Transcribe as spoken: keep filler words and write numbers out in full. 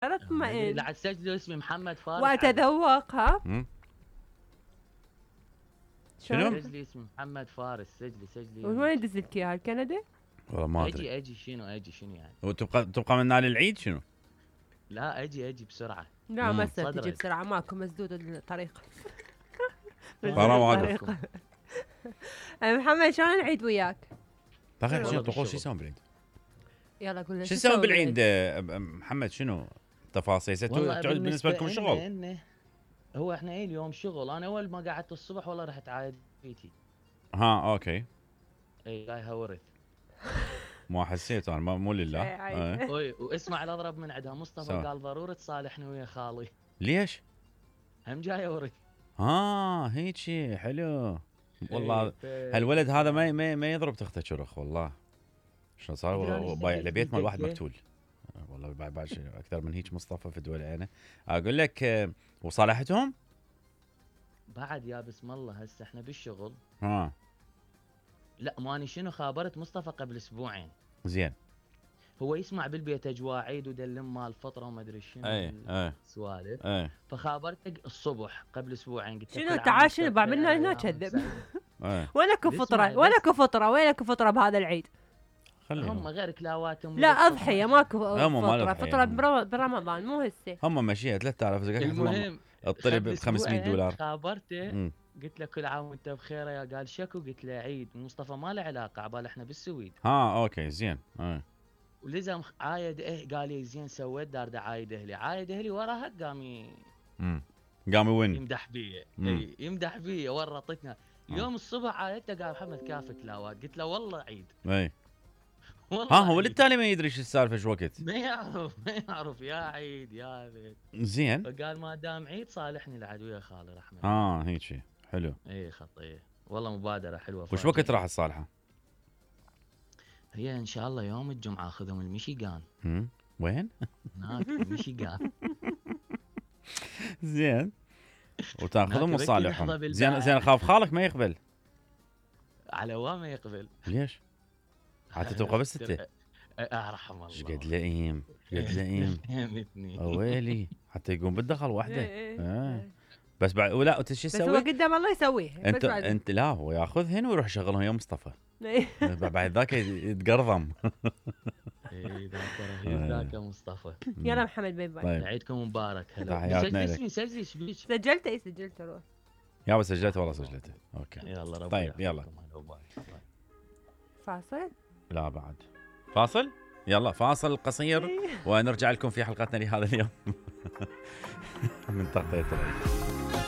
لا تطمئن. لا تسجلوا اسمي محمد فارس واتذوق. ها شنو؟ سجلي اسمي محمد فارس. سجلي سجلي. وين يدز لك اياها كندا؟ والله ما ادري. اجي اجي شنو اجي شنو يعني؟ وتبقى تبقى من نال العيد شنو؟ لا اجي اجي بسرعه. لا ما تصير تجي بسرعه، ماكو مسدود الطريق. حرام عليكم. محمد شلون العيد وياك؟ بخير. شنو تقول شو يسوون بالعيد؟ يلا قول لنا شو يسوون بالعيد محمد؟ شنو تفاصيل؟ تعود بالنسبه لكم شغل؟ إن هو احنا ايه اليوم شغل. انا اول ما قعدت الصبح والله رحت عايد بيتي. ها اوكي. اي جايها ورث. ما حسيت انا مو لله. اي واسمع الاضرب من عندها مصطفى قال ضروري تصالحني ويا خالي. ليش؟ هم جايه ورث. ها هيك حلو والله. هالولد هذا ما ما, ما يضرب تخته شرخ والله. شلون صار بايع لبيت مال واحد مقتول والله. بعد بعد اكثر من هيك مصطفى في دول عينه. اقول لك وصالحتهم بعد يا بسم الله. هسه احنا بالشغل. ها لا ماني شنو خابرت مصطفى قبل اسبوعين. زين. هو يسمع بالبيت اجواء عيد ودلم مال فطره وما ادري شنو. اي اي سوالف. اي فخابرته الصبح قبل اسبوعين قلت شنو تعال شنو بعملنا هنا كذب. وينك فطره وينك فطره وينك فطره بهذا العيد؟ هم غير كلاواتهم. لا اضحيه ماكو فطره. فطره برمضان مو هسه. هم مشيها ثلاثة آلاف زقاق. المهم الطلب ب خمسمية دولار. خابرته قلت له كل عام وانت بخير يا. قال شكو. قلت له عيد. مصطفى ما له علاقه عبال احنا بالسويد. ها اوكي زين. اه ولزم عايد اه قال لي زين سويت دار دا عايد اهلي. عايد اهلي وراها قام امم قام يون يمدح بي. اي يمدح بي ورطتنا. اليوم الصبح عايدته قال محمد كافك لاوات. قلت له والله عيد. اي ها هو للتالي ما يدري شو السالفه شو وقت. ما يعرف ما يعرف يا عيد يا بيت. زين. فقال ما دام عيد صالحني العدو يا خالي رحمه الله. اه هيك شيء حلو. اي خطيه والله مبادره حلوه. وش وقت راح تصالحه؟ هي ان شاء الله يوم الجمعه اخذهم الميشيغان. امم وين؟ هناك الميشيغان. زين. وتاخذهم وتصالحهم. زين زين. اخاف خالك ما يقبل. على وين ما يقبل؟ ليش؟ حتى تبقى بس انت. ارحم الله. ايش قد لئيم ايش قد لئيم. ويلي حتى يقوم بالدخل وحده. اه بس بعد ولا انت شو تسوي؟ بس هو قدام الله يسويها. انت انت لا هو ياخذهن ويروح يشغلهم يا مصطفى. بعد ذاك يتقرضم. اي ذاك رهيب ذاك مصطفى. يلا محمد باي باي. عيدكم مبارك. هلا تحياتنا لك. سجلي ايش بيك؟ سجلته. اي سجلته روح. يا بس سجلته والله سجلته. اوكي يلا ربي. طيب يلا. فاصل؟ لا بعد فاصل. يلا فاصل قصير ونرجع لكم في حلقتنا لهذا اليوم من تغطية العيد.